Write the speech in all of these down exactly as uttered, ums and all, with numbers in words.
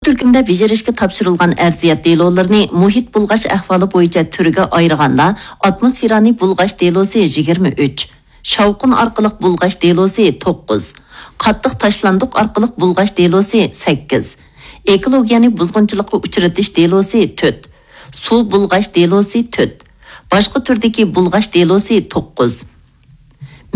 تۈركۈمدە بېجىرىشكە تاپشۇرۇلغان ئەرزىيەت دېلولىرىنى مۇھىت بۇلغاش ئەھۋالى بويىچە تۈرگە ئايرىغاندا، ئاتموسفېرانى بۇلغاش دېلوسى يىگىرمە ئۈچ، شاۋقۇن ئارقىلىق بۇلغاش دېلوسى توققۇز، قاتتىق تاشلاندۇق ئارقىلىق بۇلغاش دېلوسى سەككىز، ئېكولوگىيەنى بۇزغۇنچىلىققا ئۇچرىتىش دېلوسى تۆت، سۇ بۇلغاش دېلوسى تۆت، باشقا تۈردىكى بۇلغاش دېلوسى توققۇز.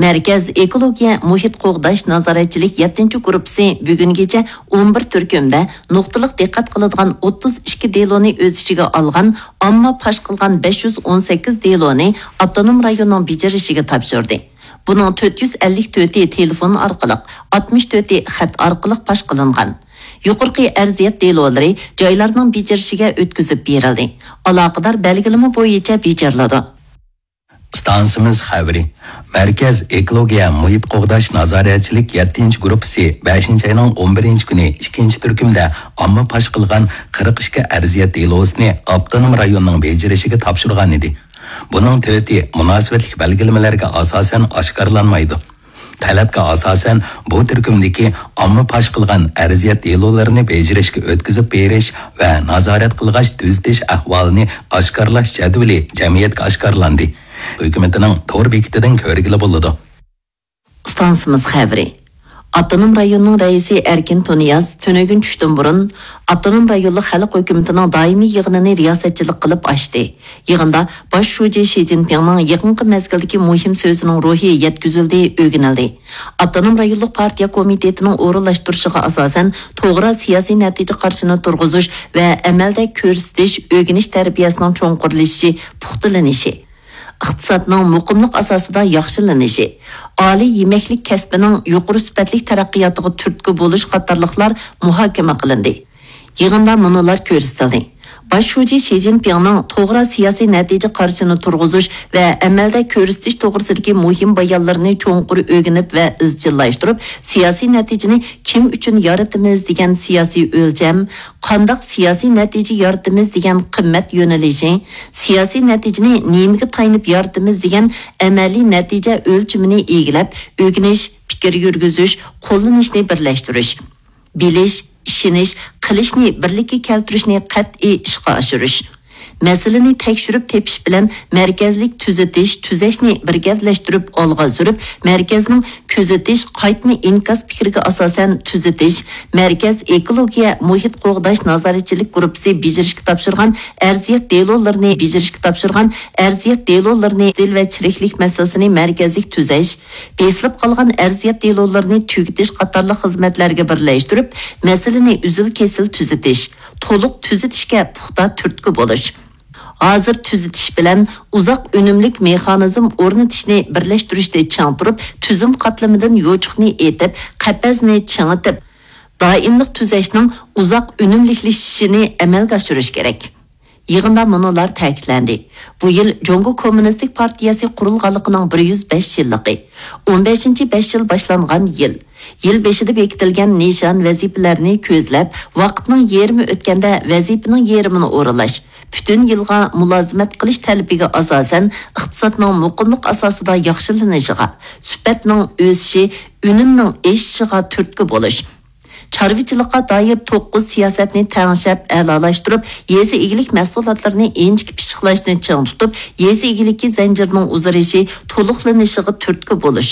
مەركەز ئېكولوگىيە مۇھىت قوغداش نازارەتچىلىك يەتتىنچى گۇرۇپپىسى بۈگۈنگىچە ئون بىر تۈركۈمدە نۇقتىلىق دىققەت قىلىدىغان ئوتتۇز ئىككى دېلونى ئۆز ئىچىگە ئالغان ئامما پاش قىلغان بەش يۈز ئون سەككىز دېلونى ئاپتونوم رايوننىڭ بېجىرىشىگە تاپشۇردى. بۇنىڭ تۆت يۈز ئەللىك تۆتى تېلېفون ئارقىلىق، ئاتمىش تۆتى خەت ئارقىلىق پاش قىلىنغان. يۇقىرىقى ئەرزىيەت دېلولىرى جايلارنىڭ بېجىرىشىگە ئۆتكۈزۈپ بېرىلدى. ئالاقىدار بەلگىلىمە بويىچە بېجىرىلىدۇ. ئىستانسىمىز خەۋىرى. مەركەز ئېكولوگىيە مۇھىت قوغداش نازارەتچىلىك يەتتىنچى گۇرۇپپىسى بەشىنچى ئاينىڭ ئون بىرىنچى كۈنى ئىككىنچى تۈركۈمدە ئامما پاش قىلغان قىرىق ئىككى ئەرزىيەت دېلوسىنى ئاپتونوم رايوننىڭ بېجىرىشىگە تاپشۇرغان ئىدى. بۇنىڭ تۆتى مۇناسىۋەتلىك بەلگىلىمىلەرگە ئاساسەن ئاشكارىلانمايدۇ. تەلەپكە ئاساسەن، بۇ تۈركۈمدىكى ئامما پاش قىلغان ئەرزىيەت دېلولىرىنى بېجىرىشكە ئۆتكۈزۈپ بېرىش ۋە نازارەت قىلغاچ تۈزىتىش ئەھۋالىنى ئاشكارىلاش جەدۋىلى جەمئىيەتكە ئاشكارىلاندى. ھۆكۈمىتىنىڭ تور بېكىتىدىن كۆرگىلى بولىدۇ. ئىستانسىمىز خەۋىرى. ئاپتونوم رايوننىڭ رەئىسى ئەركىن تۇنىياز تۈنۈگۈن چۈشتىن بۇرۇن ئاپتونوم رايونلۇق خەلق ھۆكۈمىتىنىڭ دائىمىي يىغىنىنى رىياسەتچىلىك قىلىپ ئاچتى. يىغىندا باش شۇجى شى جىنپىڭنىڭ يېقىنقى مەزگىلدىكى مۇھىم سۆزىنىڭ روھى يەتكۈزۈلدى، ئۆگىنىلدى. ئاپتونوم رايونلۇق پارتىيە كومىتېتىنىڭ ئورۇنلاشتۇرۇشىغا ئاساسەن، توغرا سىياسىي نەتىجە قارىشىنى تۇرغۇزۇش ۋە ئەمەلدە كۆرسىتىش، ئۆگىنىش تەربىيەسىنىڭ چوڭقۇرلىشىشى، پۇختىلىنىشى، ئىقتىسادنىڭ مۇقىملىق ئاساسىدا ياخشىلىنىشى، ئالىي يېمەكلىك كەسپىنىڭ يۇقىرى سۈپەتلىك تەرەققىياتىغا تۈرتكە بولۇش قاتارلىقلار مۇھاكىمە قىلىندى. يىغىندا مۇنۇلار كۆرسىتىلدى: باش شۇجى شى جىنپىڭنىڭ توغرا سىياسىي نەتىجە قارىشىنى تۇرغۇزۇش ۋە ئەمەلدە كۆرسىتىش توغرىسىدىكى مۇھىم بايانلىرىنى چوڭقۇر ئۆگىنىپ ۋە ئىزچىللاشتۇرۇپ، سىياسىي نەتىجىنى كىم ئۈچۈن يارىتىمىز دېگەن سىياسىي ئۆلچەم، قانداق سىياسىي نەتىجە يارىتىمىز دېگەن قىممەت يۆنىلىشى، سىياسىي نەتىجىنى نېمىگە تايىنىپ يارىتىمىز دېگەن ئەمەلىي نەتىجە ئۆلچىمىنى ئىگىلەپ، ئۆگىنىش، پىكىر يۈرگۈزۈش، قوللىنىشنى بىرلەشتۈرۈش، بىلىش، ئىشىنىش، قىلىشنى بىرلىككە كەلتۈرۈشنى قەتئىي ئىشقا ئاشۇرۇش. مەسىلىنى تەكشۈرۈپ تېپىش بىلەن مەركەزلىك تۈزىتىش، تۈزەشنى بىر گەۋدىلەشتۈرۈپ ئالغا سۈرۈپ، مەركەزنىڭ كۆزىتىش، قايتما ئىنكاس پىكرىگە ئاساسەن تۈزىتىش، مەركەز ئېكولوگىيە مۇھىت قوغداش نازارەتچىلىك گۇرۇپپىسى بېجىرىشكە تاپشۇرغان ئەرزىيەت دېلولىرىنى، بېجىرىشكە تاپشۇرغان ئەرزىيەت دېلولىرىنى، دىل ۋە چىرىكلىك مەسىلىسىنى مەركەزلىك تۈزەش، بېسىلىپ قالغان ئەرزىيەت دېلولىرىنى تۈگىتىش قاتارلىق خىزمەتلەرگە بىرلەشتۈرۈپ، مەسىلىنى ئۈزۈل-كېسىل تۈزىتىش، تولۇق تۈزىتىشكە پۇختا تۈرتكە بولۇش. ھازىر تۈزىتىش بىلەن ئۇزاق ئۈنۈملۈك مېخانىزم ئورنىتىشنى بىرلەشتۈرۈشنى چىڭ تۇرۇپ، تۈزۈم قاتلىمىدىن يوچۇقنى ئېتىپ، قەپەسنى چىڭىتىپ، دائىملىق تۈزەشنىڭ ئۇزاق ئۈنۈملۈكلىشىشىنى ئەمەلگە ئاشۇرۇش كېرەك. يىغىندا مۇنۇلار تەكىتلەندى: بۇ يىل جۇڭگو كوممۇنىستىك پارتىيەسى قۇرۇلغانلىقىنىڭ بىر يۈز بەش يىللىقى، ئون بەشىنچى بەش يىل باشلانغان يىل. يىل بېشىدا بېكىتىلگەن نىشان، ۋەزىپىلەرنى كۆزلەپ، ۋاقىتنىڭ يېرىمى ئۆتكەندە ۋەزىپىنىڭ يېرىمىنى ئورۇنلاش، پۈتۈن يىلغا مۇلازىمەت قىلىش تەلىپىگە ئاساسەن، ئىقتىسادنىڭ مۇقىملىق ئاساسىدا ياخشىلىنىشىغا، سۈپەتنىڭ ئۆسۈشى، ئۈنۈمنىڭ ئېشىشىغا تۈرتكە بولۇش. چارۋىچىلىققا دائىر توققۇز سىياسەتنى تەڭشەپ ئەلالاشتۇرۇپ، يېزا ئىگىلىك مەھسۇلاتلىرىنى ئىنچىكە پىششىقلاشنى چىڭ تۇتۇپ، يېزا ئىگىلىكى زەنجىرىنىڭ ئۇزىرىشى، تولۇقلىنىشىغا تۈرتكە بولۇش.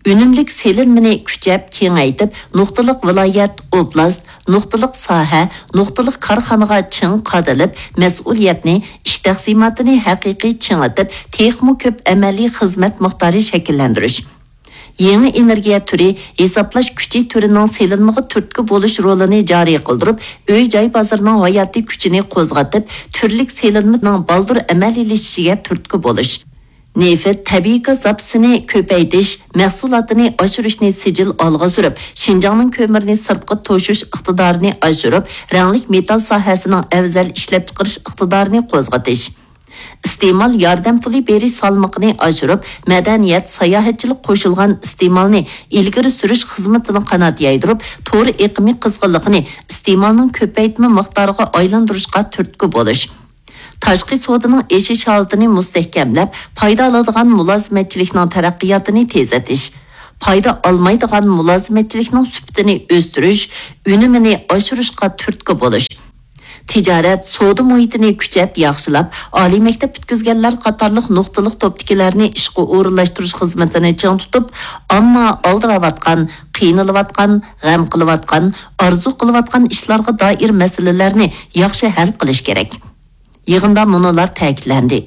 ئۈنۈملۈك سېلىنمىنى كۈچەپ كېڭەيتىپ، نۇقتىلىق ۋىلايەت، ئوبلاست، نۇقتىلىق ساھە، نۇقتىلىق كارخانىغا چىڭ قادىلىپ، مەسئۇلىيەتنى، ئىش تەقسىماتىنى ھەقىقىي چىڭىتىپ، تېخىمۇ كۆپ ئەمەلىي خىزمەت مىقدارى شەكىللەندۈرۈش. يېڭى ئېنېرگىيە تۈرى، ھېسابلاش كۈچى تۈرىنىڭ سېلىنمىغا تۈرتكە بولۇش رولىنى جارى قىلدۇرۇپ، ئۆي-جاي بازىرىنىڭ ھاياتىي كۈچىنى قوزغىتىپ، تۈرلۈك سېلىنمىنىڭ بالدۇر ئەمەلىيلىشىشىگە تۈرتكە بولۇش. نېفىت، تەبىئىي گاز زاپىسىنى كۆپەيتىش، مەھسۇلاتىنى ئاشۇرۇشنى سىجىل ئالغا سۈرۈپ، شىنجاڭنىڭ كۆمۈرنى سىرتقا توشۇش ئىقتىدارىنى ئاشۇرۇپ، رەڭلىك مېتال ساھەسىنىڭ ئەۋزەل ئىشلەپچىقىرىش ئىقتىدارىنى قوزغىتىش. ئىستېمال ياردەم پۇلى بېرىش سالمىقىنى ئاشۇرۇپ، مەدەنىيەت، ساياھەتچىلىك قوشۇلغان ئىستېمالنى ئىلگىرى سۈرۈش خىزمىتىنى قانات يايدۇرۇپ، تور ئېقىمى قىزغىنلىقىنى ئىستېمالنىڭ كۆپەيتمە مىقدارىغا ئايلاندۇرۇشقا تۈرتكە بولۇش. تاشقى سودىنىڭ ئېشىش ھالىتىنى مۇستەھكەملەپ، پايدا ئالىدىغان مۇلازىمەتچىلىكنىڭ تەرەققىياتىنى تېزلىتىش. پايدا ئالمايدىغان مۇلازىمەتچىلىكنىڭ سۈپىتىنى ئۆستۈرۈش، ئۈنۈمىنى ئاشۇرۇشقا تۈرتكە بولۇش، تىجارەت، سودا مۇھىتىنى كۈچەپ ياخشىلاپ، ئالىي مەكتەپ پۈتكۈزگەنلەر قاتارلىق نۇقتىلىق توپتىكىلەرنى ئىشقا ئورۇنلاشتۇرۇش خىزمىتىنى چىڭ تۇتۇپ، ئامما ئالدىراۋاتقان، قىينىلىۋاتقان، غەم قىلىۋاتقان، ئارزۇ قىلىۋاتقان ئىشلارغا دائىر مەسىلىلەرنى ياخشى ھەل قىلىش كېرەك. يىغىندا مۇنۇلار تەكىتلەندى.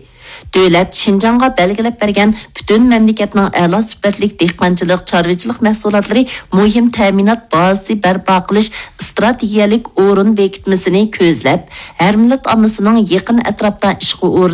دۆلەت شىنجاڭغا بەلگىلەپ بەرگەن پۈتۈن مەملىكەتنىڭ ئەلا سۈپەتلىك دېھقانچىلىق، چارۋىچىلىق مەھسۇلاتلىرى مۇھىم تەمىنات بازىسى بەرپا قىلىش ئىستراتېگىيەلىك ئورۇن بېكىتمىسىنى كۆزلەپ، ھەر مىللەت ئاممىسىنىڭ يېقىن ئەتراپتا ئىشقا ئورۇنلىشىش